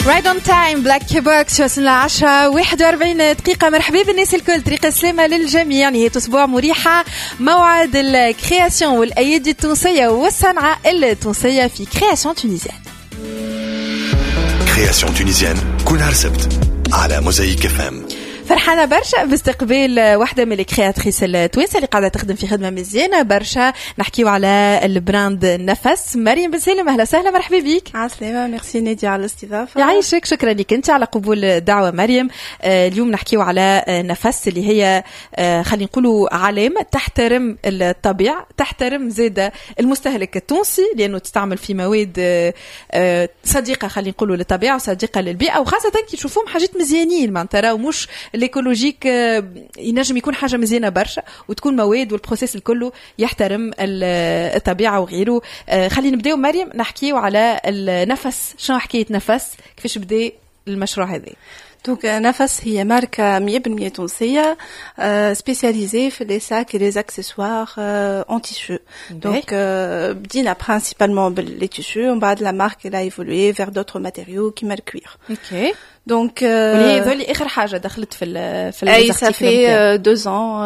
Right on time، Black Box. وصلنا 10 41 دقيقة. مرحبا بالناس الكل، طريق السلامة للجميع، نهاية أسبوع مريحة، موعد ال création والأيادي التونسية والصنعة التونسية في Création Tunisienne. Création Tunisienne كل نهار سبت على Mosaïque FM. فرحانة برشا باستقبال واحدة من ال créatrices التوانسة اللي قاعدة تخدم في خدمة مزيانة برشا. نحكيو على ال brand نفس. مريم بن سالم، أهلا وسهلا، مرحبا بك. عسلامة، ميرسي نادي على الاستضافة. يعيشك، شكرا لك أنت على قبول الدعوة مريم. اليوم نحكيو على نفس اللي هي خلينا نقولوا علامة تحترم الطبيعة، تحترم زادة المستهلك التونسي، لأنه تستعمل في مواد صديقة خلينا نقولوا للطبيعة وصديقة للبيئة، وخاصة كي تشوفوهم حاجات مزيانين، معناتها راهو مش l'écologique، ينجم يكون حاجة مزيانه برشا وتكون مواد وال processus الكل يحترم الطبيعة وغيره. خلينا نبداو مريم نحكيو على النفس. شنو حكاية نفس؟ كيفاش بدا المشروع هذا؟ donc نفس هي ماركة 100% تونسية spécialisée في les sacs et les accessoires en tissu. Donc بدينا principalement بال les tissus، ومن بعد la marque elle a évolué vers d'autres matériaux كيما ال cuir. Donc واللي هذول اخر حاجة دخلت في اي، ça fait 2 ans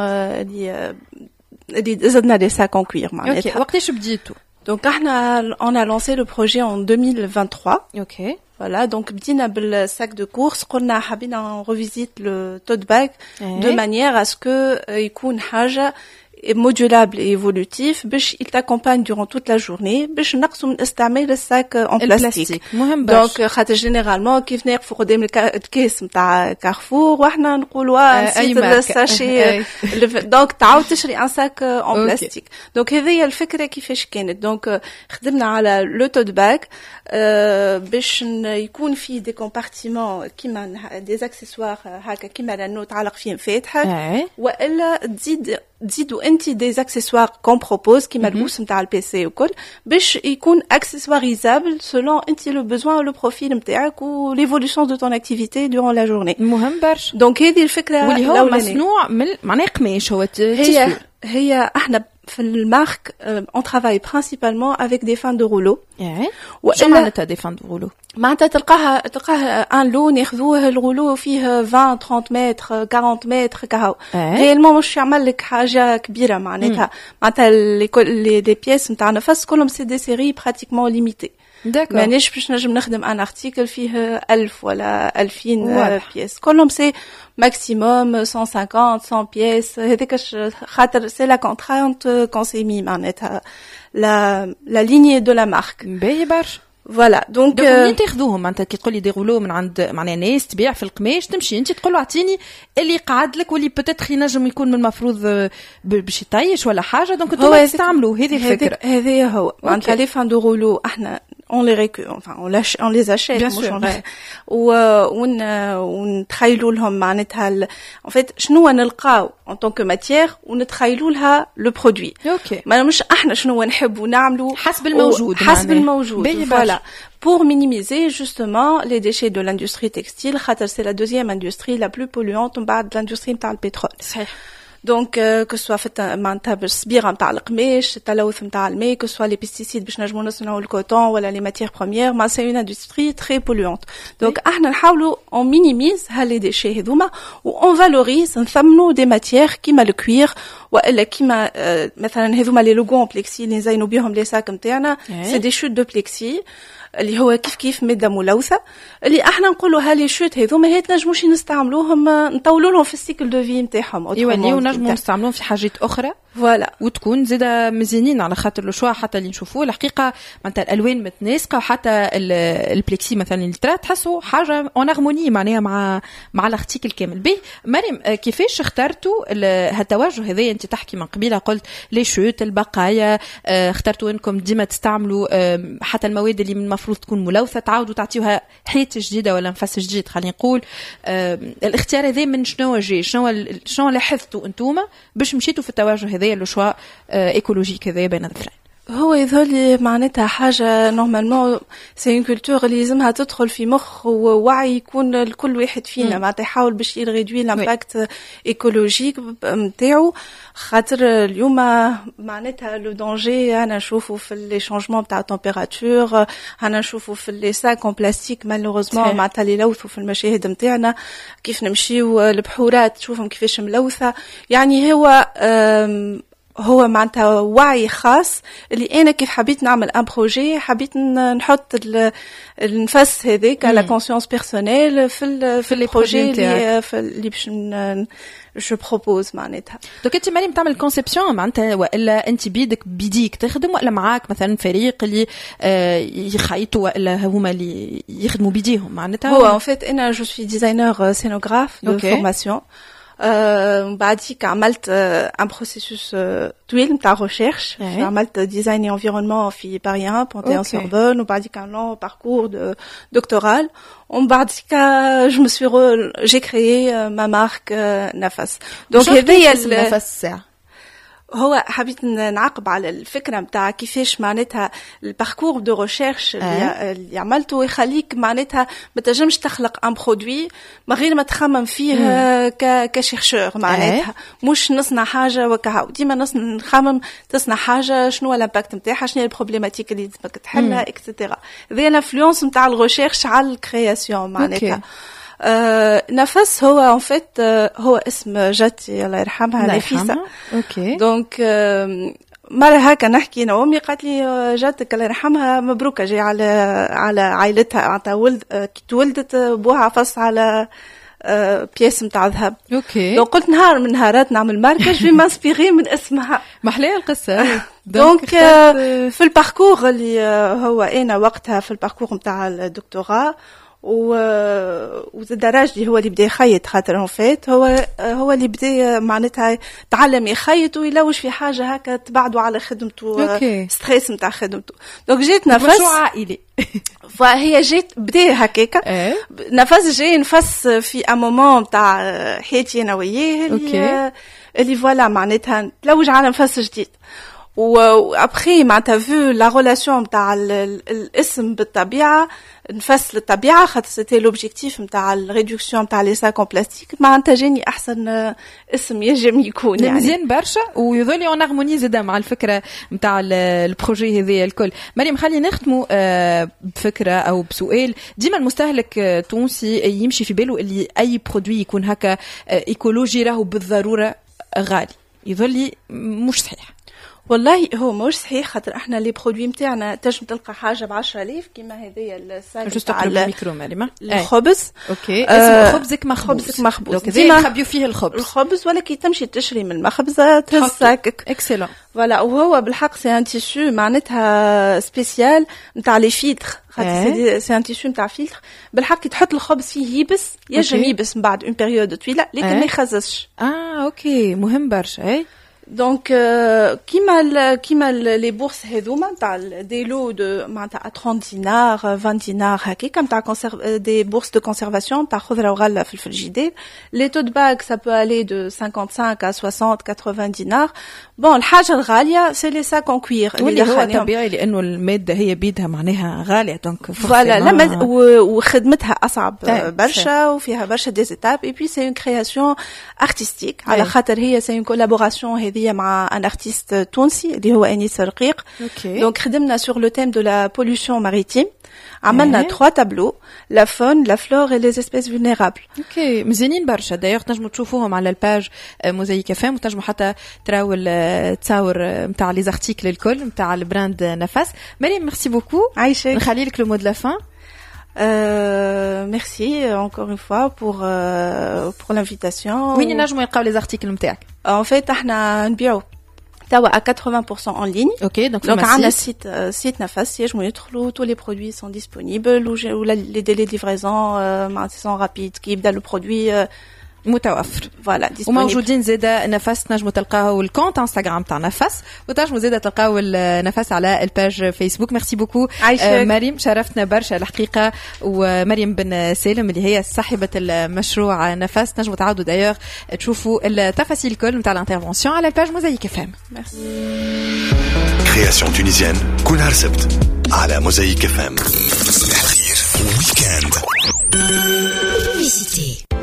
اللي زدنا les sacs en cuir معناتها. وقتاش بديتوا؟ Donc احنا on a lancé le projet en 2023. Voilà, donc بدينا بال sac de course. قلنا حبينا on revisite le tote bag de manière à ce que يكون حاجة modulable et évolutif باش il t'accompagne durant toute la journée، باش نقصوا من استعمال ال sac en plastique. مهم برشا. donc خاطر généralement كيف نقفوا قدام الكاس نتاع كارفور واحنا نقولوا نسيت ال sachet، donc تعاود تشري un sac en plastique. donc هذه هي الفكرة كيفاش كانت. donc خدمنا على le tote bag باش يكون فيه des compartiments كيما des accessoires هكا، كيما l'anneau تعلق فيه مفاتحك، والا تزيدوا انت des accessoires qu'on propose كيما ال housse نتاع ال PC وكل، باش يكون accessoirisable selon انت le besoin، le profil نتاعك و l'évolution de ton activité durant la journée. مهم برشا. donc هذه الفكره. واللي هو مصنوع من معناه قماش هو؟ هي احنا في ال marque on travaille principalement avec des fins de rouleau. شو معناتها des fins de rouleau؟ معناتها تلقاها un lot ناخذوه، ال rouleau فيه 20، 30 متر، 40 متر كهو. réellement مش يعمل لك حاجة كبيره. معناتها les pièces نتاع نفس كلهم c'est des séries pratiquement limitées. مانيش باش نجم نخدم un article فيه 1000 ولا 2000 pièces. كلهم c'est maximum 150، 100 pièces. هذاك خاطر c'est la contrainte qu'on s'est mis، معناتها la ligne de la marque. باهي برشا. voilà، donc منين تاخذوهم؟ معناتها كي تقولي des rouleaux من عند معناها ناس تبيع في القماش، تمشي انت تقول له اعطيني اللي قعد لك واللي peut-être ينجم يكون من المفروض باش يطيش ولا حاجه، donc انتم تستعملوا هذه الفكره؟ هذه هو معناتها les fins de rouleau احنا on les récupère، enfin on les achète. Bien sûr. ونتخيلوا لهم معناتها en fait شنو نلقاو en tant que matière ونتخيلوا لها le produit. ما مش احنا شنو نحبوا نعملوا. حسب الموجود. حسب الموجود، voilà، pour minimiser justement les déchets de l'industrie textile، خاطر c'est la deuxième industrie la plus polluante بعد l'industrie نتاع البترول. Donc que ce soit في معناتها بالصبيغه نتاع القماش، التلوث نتاع الماء، que ce soit les pesticides باش نجمو نصنعوا ال coton ولا les matières premières، mais c'est une industrie très polluante. donc احنا نحاولوا on minimise ها les déchets هذوما و on valorise، نثمنوا des matières كيما ال cuir والا كيما مثلا هذوما les logos en plexi اللي نزينوا بهم les sacs نتاعنا، c'est des chutes de plexi اللي هو كيف كيف مادة ملوثه، اللي احنا نقولوا ها les chutes هذوما هي تنجموش نستعملوهم، نطولوا لهم في ال cycle de vie نتاعهم. يوليو نجموا نستعملوهم في حاجات اخرى. voilà. وتكون زاده مزيانين، على خاطر le choix حتى اللي نشوفوه الحقيقة معناتها الالوان متناسقه، وحتى ال plexi مثلا اللي ترى تحسوا حاجة en harmonie معناها مع l'article كامل. به مريم، كيفاش اخترتوا هالتوجه هذا؟ انت تحكي من قبيله، قلت les chutes، البقايا، اخترتوا انكم ديما تستعملوا حتى المواد اللي من المفروض تكون ملوثة تعاودوا تعطيوها حياة جديدة ولا نفس جديد خلينا نقول. الاختيار هذا من شنو جاي؟ شنو لاحظتوا انتوما باش مشيتوا في التوجه هذا، le choix écologique هذا بين الظفرين؟ هو يظهر لي معناتها حاجة normalement c'est une culture اللي لازمها تدخل في مخ ووعي يكون لكل واحد فينا، معناتها يحاول باش ي réduit l'impact écologique نتاعو، خاطر اليوم معناتها le danger انا نشوفه في les changements تاع température، انا نشوفه في les sacs en plastique malheureusement، معناتها اللي يلوثوا في المشاهد نتاعنا، كيف نمشيو البحورات تشوفهم كيفاش ملوثه. يعني هو معناتها وعي خاص اللي انا كيف حبيت نعمل un projet، حبيت نحط النفس هذاك la conscience personnelle في ال projet اللي باش je propose معناتها. donc انت مريم تعمل conception معناتها، والا انت بيدك بيديك تخدم، والا معاك مثلا فريق اللي يخيطوا، والا هما اللي يخدموا بيديهم معناتها؟ هو en fait انا je suis designer scénographe de formation. بعديك عملت un processus طويل نتاع recherche، عملت design et environnement في باري 1 Panthéon Sorbonne، وبعديك un long parcours de doctoral، ومن بعديك je me suis j'ai créé ma marque نفس. donc هذايا نفس ساعه. هو حبيت نعقب على الفكرة نتاع كيفاش معناتها ال parcours de recherche اللي عملته يخليك معناتها ما تنجمش تخلق un produit من غير ما تخمم فيه ك chercheur، معناتها مش نصنع حاجة وكهو، ديما نخمم تصنع حاجة شنو هو l'impact نتاعها، شنو هي ال problématique اللي لازمك تحلها et cetera. هذه l'influence نتاع ال recherche على ال création معناتها. نفس هو en fait هو اسم جدتي الله يرحمها نفيسة. Donc مرة هكا نحكي أنا وأمي، قالت لي جدتك الله يرحمها مبروكة جاي على عائلتها، معناتها ولد كي تولدت بوها عفص على pièce نتاع ذهب. Donc قلت نهار من نهارات نعمل marque، je vais m'inspirer من اسمها. محلاها القصة. donc في ال parcours اللي هو انا وقتها في ال parcours نتاع الدكتوراه، وزاد راجلي هو اللي بدا يخيط، خاطر en fait هو اللي بدا معناتها تعلم يخيط ويلوج في حاجة هكا تبعدوا على خدمته، stress نتاع خدمته. donc جات نفس مشروع عائلي. فهي جات بدا هكاكا نفس جاي نفس في un moment نتاع حياتي انا وياه اللي voilà معناتها تلوج على نفس جديد. و après معناتها vu la relation نتاع الاسم بالطبيعه، نفس للطبيعه، خاطر c'était l'objectif نتاع ال réduction نتاع les sacs en plastique، معناتها جاني احسن اسم ينجم يكون. يعني مزيان برشا ويظل en harmonie زاده مع الفكرة نتاع ال projet هذايا الكل. مريم، خلينا نختموا بفكره او بسؤال. ديما المستهلك التونسي يمشي في باله اللي اي produit يكون هكا écologique راهو بالضرورة غالي، يظل مش صحيح. والله هو مش صحيح، خاطر احنا les produits نتاعنا تنجم تلقى حاجة ب 10000 كيما هذايا ال sac تاع الميكرو مريم. الخبز. OK، اسمه خبزك مخبوز. خبزك مخبوز. donc ديما نخبيو فيه الخبز. الخبز، ولا كي تمشي تشري من المخبزه تهز sac ك. excellent. voilà، وهو بالحق c'est un tissu معناتها spécial نتاع les filtres، خاطر c'est un tissu نتاع فيلتر. بالحق كي تحط الخبز فيه يبس، ينجم يبس من بعد une période طويله، لكن ما يخززش. اه OK، مهم برشا اي. donc كيما les bourses هذوما نتاع des lots de معناتها 30 دينار، 20 دينار هكاك، نتاع des bourses de conservation نتاع خضرة وغله في ال frigidaire، les tote bags ça peut aller de 55 à 60 80 دينار. bon، الحاجة الغالية c'est les sacs en cuir. واللي هو طبيعي لانه المادة هي بيدها معناها غاليه، donc voilà، لا وخدمتها اصعب برشا وفيها برشا des étapes، et puis c'est une création artistique، على خاطر هي c'est une collaboration هذه مع un artiste تونسي اللي هو انيس رقيق. Donc خدمنا sur le thème de la pollution maritime، عملنا trois tableaux: la faune، la flore et les espèces vulnérables. OK، مزيانين برشا. d'ailleurs تنجموا تشوفوهم على ال page موزايك اف ام، وتنجموا حتى تراو التصاور نتاع les articles الكل نتاع ال brand نفس. مريم، merci beaucoup. عايشك. نخلي لك le mot de la fin. Merci encore une fois pour l'invitation. وين ينجموا يلقاو les articles نتاعك؟ En fait احنا نبيعوا توا à 80% en ligne. OK، donc donc عندنا site نفس، ينجموا يدخلوا، tous les produits sont disponibles و les délais de livraison معناتها sont rapides، كي يبدا le produit متوفر. voilà. وموجودين زاده نفس، تنجموا تلقاو ال compte انستغرام تاع نفس، وتنجموا زاده تلقاو النفس على ال page فيسبوك. merci beaucoup مريم، شرفتنا برشا الحقيقه. ومريم بن سالم اللي هي صاحبه المشروع نفس، تنجموا تعاودوا d'ailleurs تشوفوا التفاصيل الكل نتاع l'intervention على ال page موزايك اف ام. merci. Création tunisienne كل نهار سبت على موزايك اف ام. صباح الخير week-end.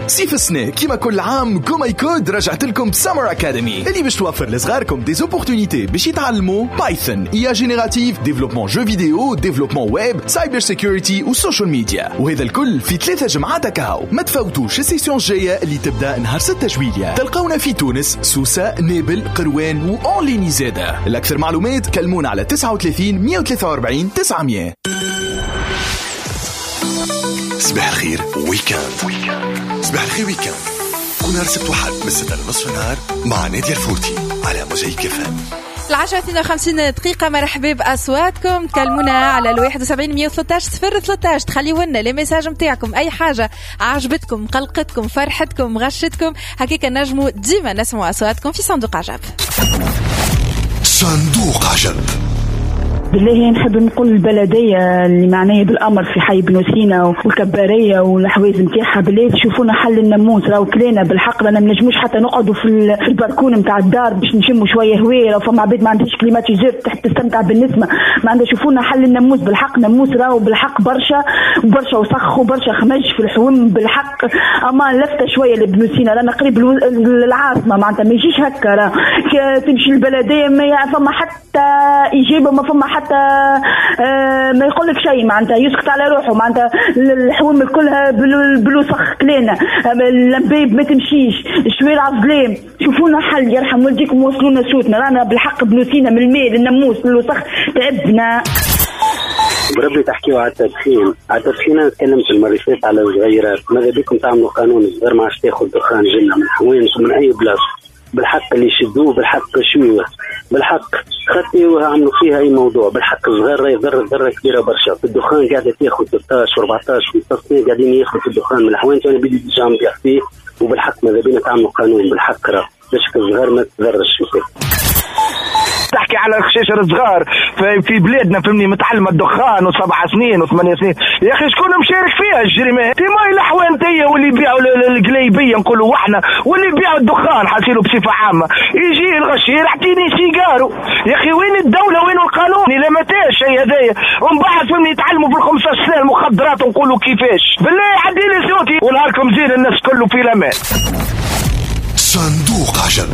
صيف السنة كيما كل عام GoMyCode رجعت لكم ب Summer Academy اللي باش توفر لصغاركم des opportunités باش يتعلموا Python، IA générative، développement jeux vidéo، développement web، cyber security و social media، وهذا الكل في 3 جمعات كهو. ما تفوتوش ال session الجاية اللي تبدا نهار 6 جويلية. تلقونا في تونس، سوسة، نابل، قروان و en ligne زادة. الأكثر معلومات كلمونا على 39 143 900. صباح الخير week-end، صباح الخير week-end، كل نهار سبت وحد من 6 لنصف النهار مع نادية الفوتي على موزايك اف ام. 10:52، مرحبا بأصواتكم. تكلمونا على ال 71 113 013، تخليوا لنا les messages نتاعكم، أي حاجة عجبتكم، قلقتكم، فرحتكم، غشتكم، هكاك نجموا ديما نسمعوا أصواتكم في صندوق عجب. صندوق عجب. بالله نحب نقول البلدية اللي معنية بالأمر في حي بن سينا والكبارية والأحواز نتاعها، بالله تشوفونا حل الناموس، راهو كلينا بالحق، رانا ما نجموش حتى نقعدوا في البركون نتاع الدار باش نشموا شوية هواء. لو فما عباد ما عندهاش climatiseur تحب تستمتع بالنسمة، ما عندها. شوفونا حل الناموس بالحق، ناموس راهو بالحق برشا برشا، وسخ وبرشا خمج في الحوم بالحق. اما لفته شوية لابن سينا، رانا قريب للعاصمة، معناتها ما يجيش هكا. راه تمشي البلدية ما فما حتى إجابة، ما فما حتى ما يقول لك شيء، معناتها يسكت على روحه. معناتها الحوم كلها بالوسخ كلينا، اللمبيب ما تمشيش، الشوارع ظلام. شوفونا حل يرحم والديكم، وصلونا صوتنا، رانا بالحق بن سينا من الماء للناموس للوسخ تعبنا. بربي تحكيوا على التدخين، على التدخين. انا تكلمت المرة اللي فاتت على الصغيرات، ماذا بكم تعملوا قانون الصغير ما عادش تاخذ دخان جنة من حوانت ومن اي بلاصه. بالحق اللي يشدوه بالحق شوية بالحق خطي وعملوا فيها اي موضوع. بالحق الصغير راهي ضر ضره كبيرة برشا في الدخان، قاعدة تاخذ 16 و14 و15 سنة قاعدين ياخذوا في الدخان من الحوانت، وانا بدي déjà نبيع فيه. وبالحق ماذا بينا تعملوا قانون بالحق راه باش الصغار ما تضرش. تحكي على الخشاشر الصغار في بلادنا، فهمني، متعلمة الدخان و7 سنين و8 سنين. يا اخي شكون مشارك فيها الجريمة؟ في ماي الحوانتيه واللي يبيعوا القليبيه نقولوا احنا، واللي يبيعوا الدخان حاسيلو بصفة عامه. يجي الغشير اعطيني سيجارو. يا اخي وين الدوله؟ وين القانون؟ الى متى الشيء هذايا؟ ومن بعد فهمني يتعلموا في ال 15 سنة المخدرات، ونقولوا كيفاش؟ بالله عدي لي صوتي ونهاركم زين، الناس كله في الامان. صندوق عجب.